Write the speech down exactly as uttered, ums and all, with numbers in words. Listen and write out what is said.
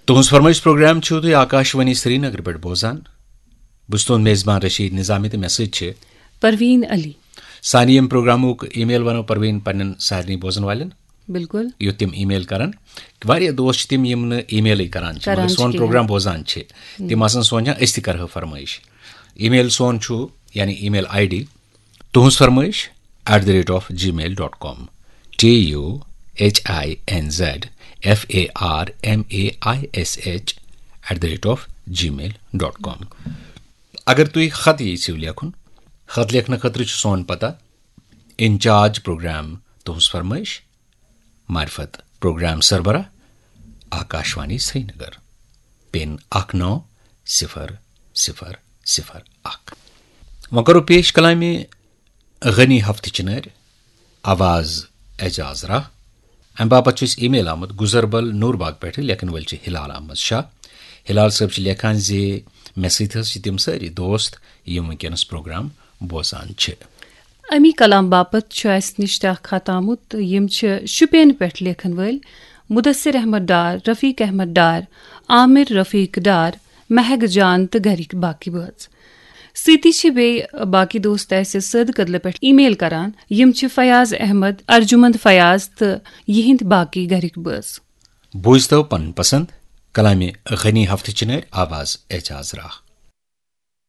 تُہٕنٛز فرمٲیش پروگرام چھِو تُہۍ آکاشوانی سرینگر پٮ۪ٹھ بوزان۔ بہٕ چھُس تُہُنٛد میزبان رشیٖد نظامی تہٕ مےٚ سۭتۍ چھِ پروین علی۔ سانہِ ییٚمہِ پروگرامُک email وَنو پروین پننٮ۪ن سارنٕے بوزن والٮ۪ن۔ بِلکُل۔ یُتھ تِم email کرن۔ واریاہ دوست چھِ تِم یِم نہٕ emailٕے کران چھِ، کران مگر چھِ سون کِہیٖنۍ۔ پروگرام بوزان چھِ۔ تِم ہُم۔ آسن سونچان أسۍ تہِ کرہو فرمٲیش۔ Email سون چھُ، یعنی email ID، تُہٕنٛز فرمٲیش at the rate of gmail dot com، T U H I N Z F A R M A I S H at the rate of gmail dot com۔ اگر تُہۍ خط یژھِو لیکھُن، خط لیکھنہٕ خٲطرٕ چھُ سون پتہ، انچارج پروگرام تُہٕنٛز فرمٲیش، معرفت پروگرام سربراہ، آکاشوانی سرینگر، پن اکھ نو صفر صفر صفر اکھ۔ وۄنۍ کرو پیش کلامِ غنی ہفتہٕ چنٲرۍ، آواز اعجاز راہ۔ امہِ باپتھ چھُ اسہِ email آمُت گُزربل نورباغ پٮ۪ٹھٕ، لیکھن وٲلۍ چھِ ہلال احمد شاہ۔ ہلال صٲب چھِ لیکھان زِ مےٚ سۭتۍ حظ چھِ تِم سٲری دوست یِم وٕنکیٚنس پروگرام بوزان چھِ۔ امی کلام باپتھ چھُ اسہِ نِش تہِ اکھ خط آمُت۔ یِم چھِ شُپین پٮ۪ٹھ لیکھن وٲلۍ مدثر احمد ڈار، رفیق احمد ڈار، عامر رفیق ڈار، مہک جان تہٕ گرِکۍ باقی بٲژ۔ سۭتی چھِ بیٚیہِ باقی دوست اسہِ سٲدٕ کدلہٕ پٮ۪ٹھ email کران۔ یِم چھِ فیاض احمد، ارجمند فیاض تہٕ یِہنٛدۍ باقی گرِکۍ بٲژ۔ بوٗزتو پنُن پسند کلامِ غنی ہفتہٕ چنٲرۍ، آواز اعجاز راہ۔